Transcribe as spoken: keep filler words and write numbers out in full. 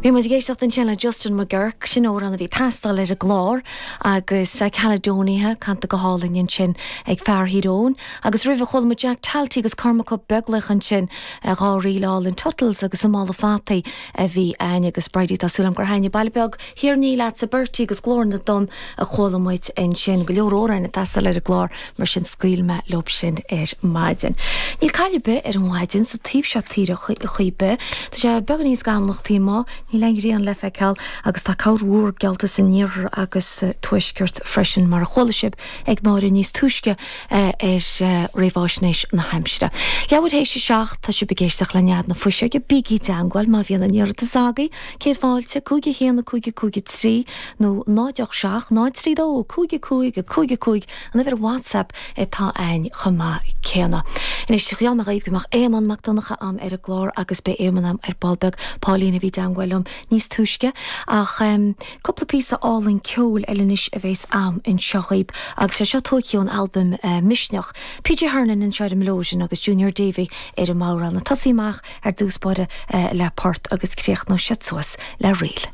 Bhí muid ag éisteacht ansin le Justin McGurk sin amhrán a bhí ag teastáil ar an gclár agus Caledonia canta go hálainn ansin ag fear Thír Eoghain, agus roimhe chuala muid Jack Talty agus Cormac Ó Beaglaoich ansin dhá ríl álainn Tuttles agus an Mála Fataí a bhí ann agus Bridie tá súil agam gur thaitin Baile Beag Thír Ní leatsa Bertie agus Glór na dTonn a chuala muid ansin go leor amhrán ag teastáil ar an gclár mar sin scaoil mé leo sin ar maidin. Níl caill ar bith ar an mhaidin sa taobh seo tíre chaoi be, Tá sé beagáinín scamallach taobh amuigh, níl aon ghrian le feiceáil agus tá corrmhúr geallta san iarthar agus tuaisceart freisin mar a chuala sibh ag Máire níos túisce ar réamhaisnéis na haimsire. Leathuair théis a seacht tá sibh ag éisteacht le Nead na Fuiseoige bígí i dteagmháil má bhíonn aon iarratas agaibh, céad fáilte cúig a haon a cúig a cúig a trí nó náid ocht seacht náid trí dó cúig a cúig a cúig a cúig an uimhir WhatsApp atá ann chomh maith céanna. Anois gheall mé dhaoibh go mbeadh Éamonn Mac Donncha a'm ar an gclár agus beidh Éamonn a'm ar ball beag Pauline a bhí i dteagmháil liom níos túisce ach um, cúpla píosa álainn ceoil eile anois a bheas a'm anseo dhaoibh agus sé seo tógtha ón albam uh, Misneach. PJ Hernan anseo ar an melodeon agus Junior Davy ar an mbodhrán. Tosaí amach ar dtús báire uh, le port agus críochnóidh siad suas le ríl.